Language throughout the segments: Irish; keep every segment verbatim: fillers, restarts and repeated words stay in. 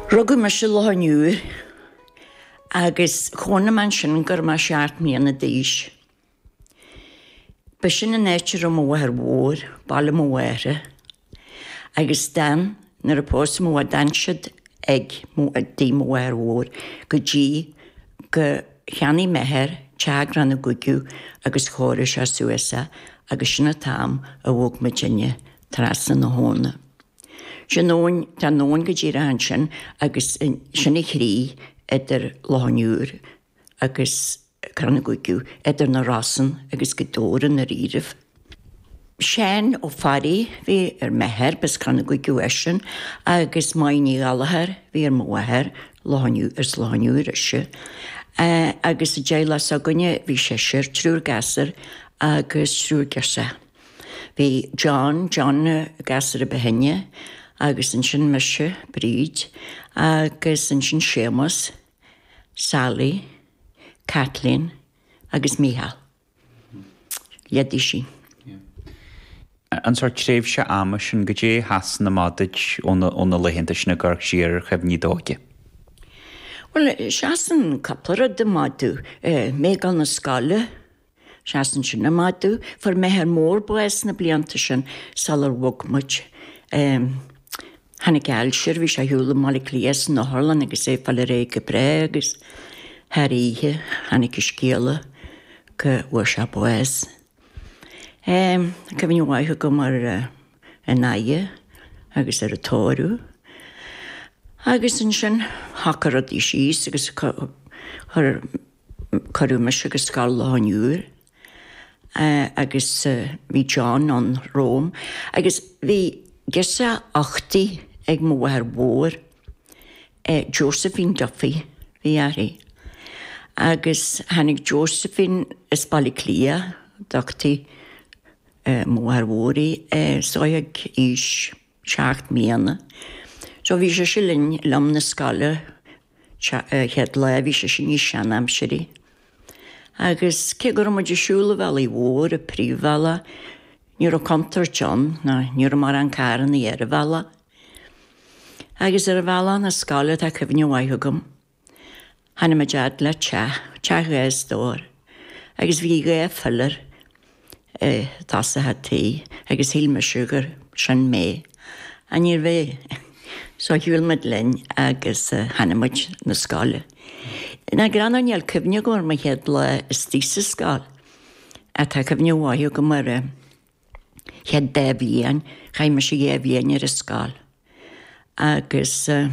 Rugadh mise i Loch an Iúir agus chónaigh mé ansin go raibh mé seacht mbliana d'aois. Ba sin an áit a raibh mo mháthair mhór, baile mo mháthara. Agus d'fhan, nuair a pósadh mo mháthair, d'fhan siad ag tigh mo mháthar mhór go dtí go cheannaigh m'athair teach i gCrann na gCuigeadh agus chóirigh sé suas é agus sin an t-am a bhog muidinne trasna na habhna. Sin abhainn, tá an abhainn go díreach ansin agus sin an chríoch idir Loch an Iúir agus Crann na gCuigeadh, idir na Rosann agus Gaoth Dobhair i ndáiríribh. Seán Ó Fearraigh bhí ar m'athair, b'as Crann na gCuigeadh eisean, agus Máire Ní Ghallchóir bhí ar mo mháthair, Loch an Iúir, as Loch an Iúir ise. Agus i dteaghlach s'againne bhí seisear, triúr gasúr agus triúr girseach. Bhí John, John an gasúr a ba shine, agus ansin mise, Bríd, agus ansin Séamus, Sally, Kathleen agus Mícheál. Leadaí sin. An sórt tréimhse ama sin, goidé a sheasann amach duit ó na laethanta sin ag amharc siar ar chuimhní d'óige? Bhuel, seasann cúpla rud amach domh. Mé ag dul na scoile, Seasann sin amach domh. Fuair m'athair mór bás na blianta sin sular bhog muid. Tháinig ailse air, bhí sé ar shiúl i mBaile Átha Cliath san otharlann agus é ag fáil ar aghaidh go breá agus thar oíche tháinig an scéala go bhfuair sé bás. Cuimhne mhaith agam ar an oidhe agus ar an tórramh. Agus ansin shocraigh rudaí síos agus chuir Cuireadh mise go Scoil Loch an Iúir agus bhí John ann romham agus bhí girseach uchtaí ag mo mháthair mhór, Josephine Duffy bhí uirthi. Agus tháinig Josephine as Baile Átha Cliath, d'uchtaigh mo mháthair mhór í, so ag aois seacht mbliana. So bhí sise linn liom na scoile chéad lá, bhí sise níos seanaimsirí. Agus cé go raibh muid ag siúl an bhealaigh mhóir, an príomhbhealach, ní raibh contúirt ann, ná ní raibh mórán carrannaí ar an bhealach. Agus ar an bhealach na scoile tá cuimhne mhaith agam. Tháinig muid fhad le teach, teach dhá stór, agus bhí dhá philéar i dtosach an tí agus shíl mise gur sin mé. Ach níorbh é. So shiúil muid linn agus tháinig muid na scoile. Nach greannmhar níl cuimhne agam ar mo chéad lá istigh sa scoil. Ach tá cuimhne mhaith agam ar an chéad dá bhliain, chaith mise dhá bhliain ar an scoil. Agus á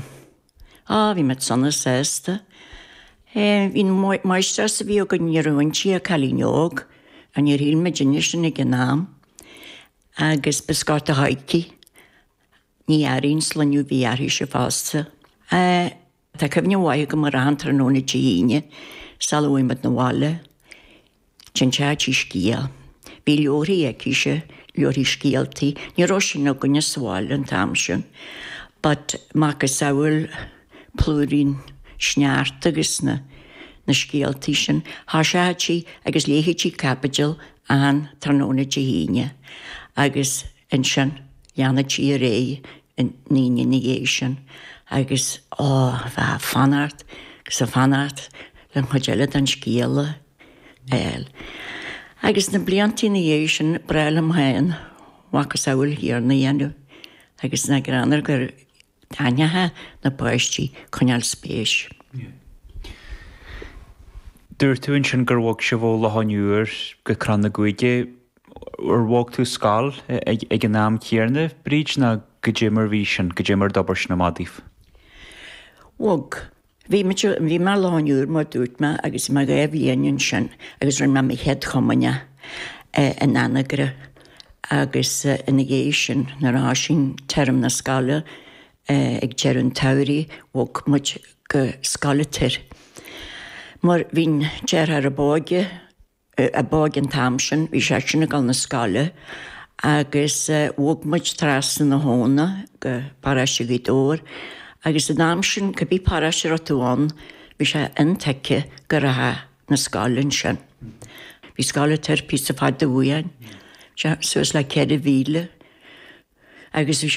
bhí muid sona sásta. Bhí an máistreás a bhí againn ní raibh inti ach cailín óg, ach níor shíl muidinne sin ag an am. Agus b'as Gort a' Choirce. Ní Fhearraigh an sloinneadh a bhí uirthise fosta. Tá cuimhne mhaith agam ar achan tráthnóna Dé hAoine sula bhfuaigh muid 'na bhaile. D'inseodh sí scéal. Bhí leabharthaí aicise, leabharthaí scéaltaí. Ní raibh sin againne sa bhaile an t-am sin. But macasamhail Plúirín Sneachta agus na na scéaltaí sin. Thoiseodh sí agus léifeadh sí caibidil achan tráthnóna Dé hAoine agus ansin leanfadh sí ar aghaidh an Aoine ina dhiaidh sin agus ó bheifeá ag fanacht agus ag fanacht le an chuid eile den scéal a fháil. Agus na blianta ina dhiaidh sin b'bhreá liom féin macasamhail chéanna a dhéanamh agus nach greannmhar gur Taitneochadh na páistí coinneáil spéis. Dúirt tú ansin gur bhog sibh ó Loch an Iúir go Crann na gCuigeadh. Ar bhog tú scoil ag an am céanna, Bríd, nó goidé mar bhí sin, goidé mar d'obair sin amach daoibh? Bhog. Bhí muid, bhí mé i Loch an Iúir mar dúirt mé agus bhí mé dhá bhliain ansin agus rinne mé mo chéad chomaoineach in Anagaire agus ina dhiaidh sin nuair a thoisigh term na scoile ag deireadh an tsamhraidh bhog muid go Scoil an Toir mar bhí an deartháir ab óige ab óige an t-am sin, bhí seisean ag dul na scoile agus bhog muid trasna na habhna go paróiste Ghaoth Dobhair agus an am sin cibé paróiste a raibh tú ann bhí sé intuigthe go rachfá na scoile ansin. Bhí Scoil an Toir píosa fada uainn, suas le ceithre mhíle agus bhí sé